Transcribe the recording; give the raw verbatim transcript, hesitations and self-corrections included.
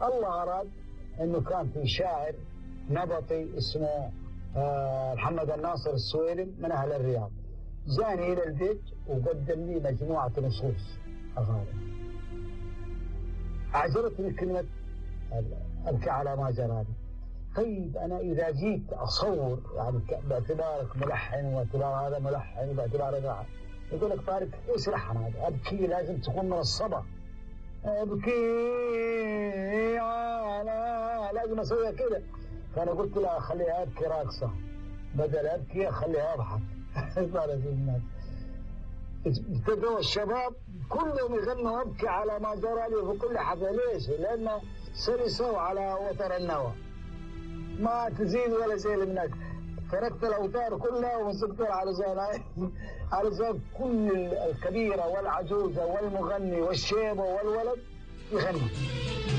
الله أراد إنه كان في شاعر نبطي اسمه آه محمد الناصر السويرم من أهل الرياض، جاني إلى البيت وقدم لي مجموعة نصوص أغاني. أعجبتني كلمة أبكي على ما جراني. طيب أنا إذا جيت أصور يعني باعتبارك ملحن واعتبار هذا ملحن وباعتبار هذا ملحن، يقول لك طارق إيش لحن هذا؟ أبكي لازم تكون من الصبا، أبكي على لازم أسويها كده. فأنا قلت لا خليها أبكي راقصة، بدل أبكي خليها أضحك. ابتدوا الشباب كلهم يغنوا أبكي على ما جرى لي في كل حفلة. ليش؟ لأنه سلسوا على وتر النوى، ما تزيد ولا زي منك. تركت الأوتار كلها ومسكت علشان علشان كل الكبيرة والعجوزة والمغني والشيبة والولد يغني.